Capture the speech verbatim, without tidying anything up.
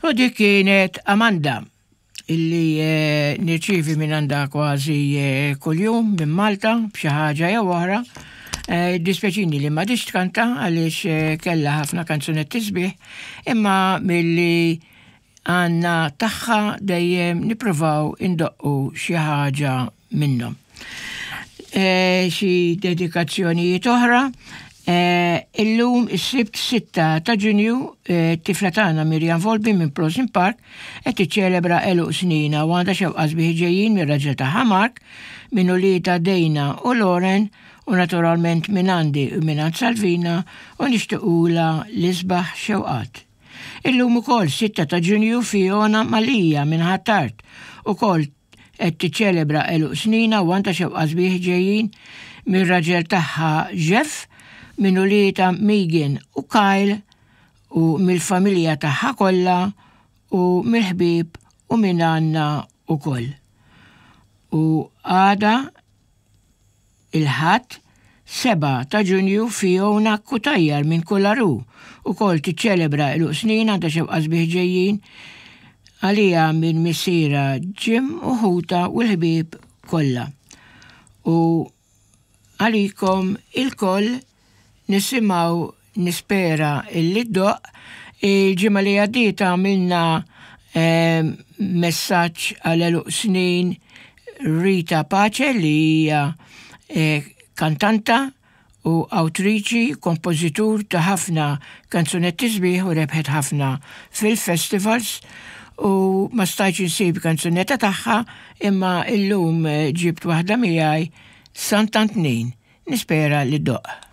U dik kienet Amanda illi eh, nirċivi minn għandha kważi eh, kuljum minn Malta b'xi ħaġa jew oħra. Eh, Dispjaċini li m'għadhiex tkanta għaliex eh, kellha ħafna kanzunetti sbieħ, imma milli għandna tagħha dejjem nippruvaw indoqqu xi ħaġa minnhom. Eh, Xi dedikazzjonijiet oħra. Eh, Illum is-Sibt sitta ta' Ġunju, eh, tifla tagħna Mirjam Volpi minn Prosin Park qed tiċċelebra għeluq sninha u għandha xewqa sbieħ ġejjin mir-raġel tagħha Mark, minn uliedha Dejna u Lauren u naturalment minn għandi u minn għand Salvina u nixtiequlha l-isbaħ xewqat. Illum ukoll sitta ta' Ġunju Fiona Malija minn Ħ'Attard ukoll qed tiċċelebra għeluq sninha u għandha xewqa sbieħ ġejjin mir-raġel tagħha Jeff, minn uliedha Megan u Kyle u mill-familja tagħha kollha u mill-ħbieb u minn għandna ukoll. U għada il-Ħadd sebgħa ta' Ġunju Fiona Cutajar minn Kularu ukoll tiċċelebra għeluq sninha, għandha xewqa sbieħ ġejjin għalija minn missierha Jim u ħutha u l-ħbieb kollha. U għalikom ilkoll nisimgħu Nispera illi ddoqq. Il-ġimgħa li għaddiet għamilna eh, messaġġ għal għeluq snin Rita Pace li hija eh, kantanta u awtriċi, kompożitur ta' ħafna kanzunetti sbieħ u rebħet ħafna fil-festivals u ma stajtx insib kanzunetta tagħha imma illum eh, ġibt waħda miegħi, Sant'Antnin. Nispera li ddoqq.